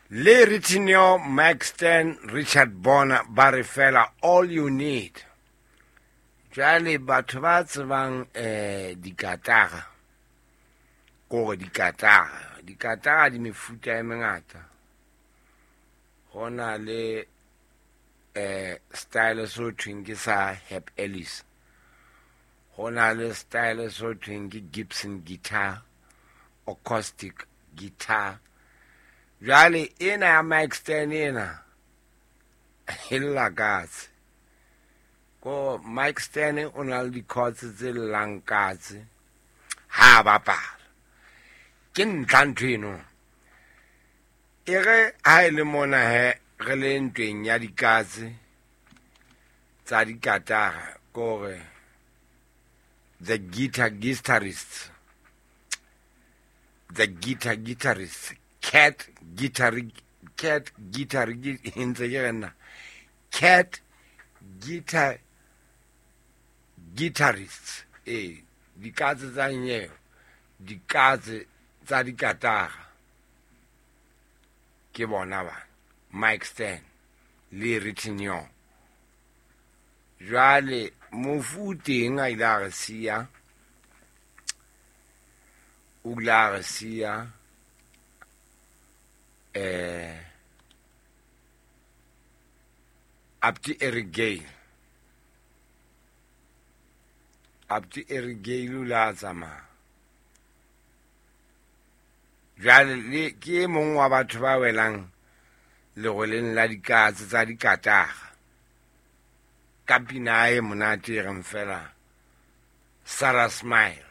Le Ritinio, Mike Stern, Richard Bona ba re fela All You Need. Jwale batho ba tsebang dikatara, kore dikatara, dikatara di mefuta e mengata. Ho na le style so thweng ke sa Herb Ellis. Ho na le style so thweng ke Gibson guitar, acoustic guitar. Jwale ena ya Mike Stern ena e lla katse. Ko Mike Stern o na le di-chords tse llang katse ha a bapala. Ke ntlha ntho eno. E re ha e le mona he re le ntweng ya dikatse tsa dikatara, kore the guitar guitarists, the guitar guitarists, cat guitar, cat guitar, ntse ke re nna, cat guitar guitarists, dikatse tsa nyeo, dikatse tsa dikatara, ke bona ba Mike Stern le Ritinio. Jwale mofu o teng a ile a re siya, o ile a re siya, Abdi Eric Gale. Abdi Eric Gale o ile a tsamaya. Jwale le ke e mong wa batho ba welang leroleng la dikatse tsa dikatara. Ka pina e monate e reng fela Sarah Smile.